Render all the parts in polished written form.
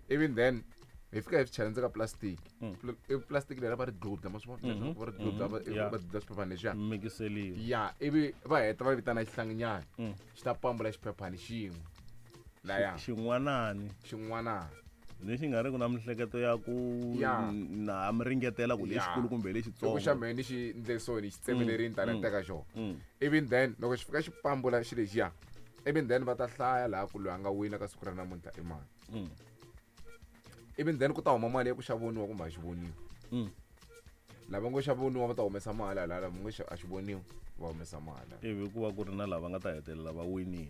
Even then hi fika hi swi chela ndzeni ka plastic. I plastic leri va ri gludla, ma swi vona leswaku va ri gludla, va dludla xiphephani lexiya. Mikiseliwa. Ya, ivi va heta va vitana xihlanginyana, xi ta pambula xiphephani xin'we laya. Xin'wanani. Xin'wanani. Lexi nga ri ku na mihleketo ya ku na mi ringetela ku lexikulu kumbe lexitsongo. Loko xa mehe ni xi ndle so, ni xi tsemelerini tani ni teka xona. Even then loko xi fika xi pambula xi lexiya, even then va ta hlaya laha ku loyi a nga wina ka siku ra namuntlha i mani. Even then ku ta huma mali ya ku xa voniwa kumbe a xi voniwi. Lava ngo xa voniwa va ta humesa mali, hala lava ngo a xi voniwi va humesa mali. Ivi ku va ku ri na lava nga ta hetelela va winile.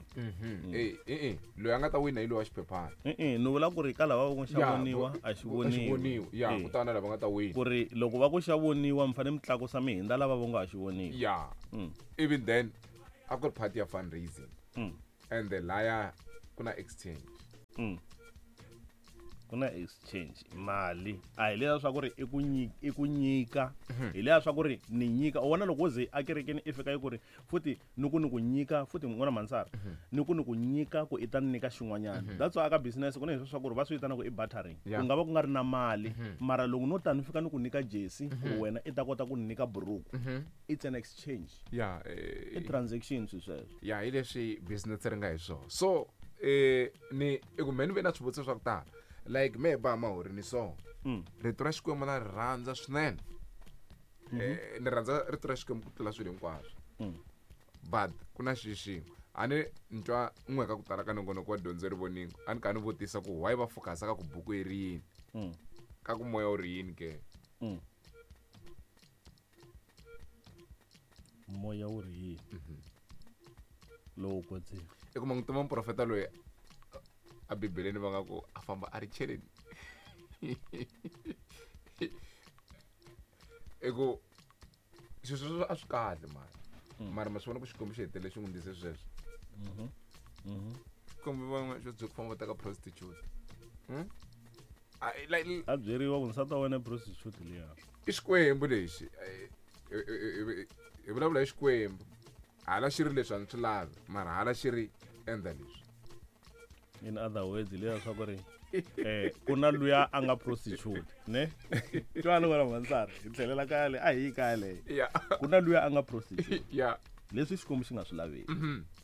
Eh, loyi a nga ta wina hi loyi wa xiphephana. E-e, ni vula ku ri ka lava va ku xa voniwa, a xi a xi voniwi. Voniwi ya. Ku ta na lava nga ta wina. Ku ri loko va ku xa voniwa, mi fanele mi tlakusa mi hindza lava va nga ha xi voniwi. Ya. Even then a ku ri part ya fundraising. And the laya ku na exchange. Ku na exchange, mali a hi leya swa ku ri i ku nyika, hi leya swa ku ri ni nyika. U vona loko wo ze a kerekeni i fika yi ku ri futhi ni ku ni ku nyika futhi n'wana mansara, ni ku ni ku nyika ku i ta ni nyika xin'wanyana. That's why aka business ku na leswi swa ku ri va swi vitana ku i bartering. Ku nga va ku nga ri na mali, mara loko no ta ni fika ni ku nyika jersey ku wena i ta kota ku ni nyika buruku, it's an exchange. I transaction swi sweswo. Ya, hi leswi business ri nga hi swona. So ni i ku me ni ve na swivutiso swa ku tala, like me ba mahori ni so rito ra Xikwembu na ri rhandza swinene. Ni rhandza rito ra Xikwembu ku tlula swilo hinkwaswo. But ku na xi xin'we a ni ni twa n'we ka ku tala ka nongonoko wa dyondzo ri voningo, a ni ka ni vutisa ku why va focus ka ku buku yi ri yini, ka ku moya wu ri yini ke? Moya wu ri yini? Lowo kwetsima. I kuma n'wi tiva muprofeta loyi a Bibeleni va nga ku a famba a ri cheleni, i ku swilo sweswo a swi kahle, mara ma swi vona ku Xikwembu xi hetelele xi n'wi ndlise sweswo. Xikwembu van'we xo byi ku famba va teka prostitute. Like, a byeriwa ku nsati wa wena i prostitute liya. I Xikwembu lexi. Hi vulavula hi Xikwembu, hala xi ri leswi a ni swi lavi, mara hala xi ri endla leswi. In other words, leya swa ku ri ku na luya a nga prostitute ne twani wena mansara, hi tlhelela kaya le, a hi yi kaya leyo. Ku na luya a nga prostitute. Leswi Xikwembu xi nga swi laveki.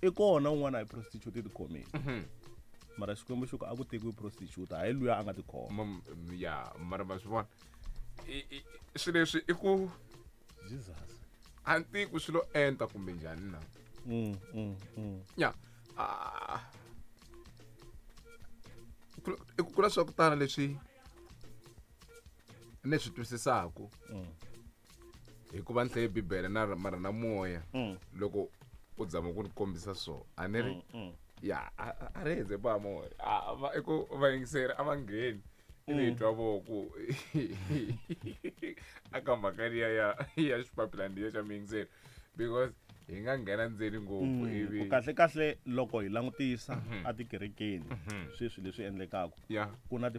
I kona un'wana a hi prostitute i tikhomile. Mara Xikwembu xi ku a ku tekiwi prostitute, hayi luya a nga tikhoma. Ya, mara ma swi vona. Swilo leswi i ku Jesus. A ni tivi ku swi lo enta kumbe njhani na. Ya. I ku kula swa ku tala leswi ni swi twisisaku. Hikuva ni hlaye Bibele na mara na moya. Loko u zama ku ni kombisa so, a ni ri ya, a ri heze ba moya. A, va, i ku vayingiseri a va ngheni. Ivi hi twa vo ku aka mhaka liya ya xipapilani liya xa muyingiseri, because hi nga nghena ndzeni ngopfu. Ivi Ku kahle kahle loko hi langutisa a tikerekeni sweswi leswi endlekaka, ku na ti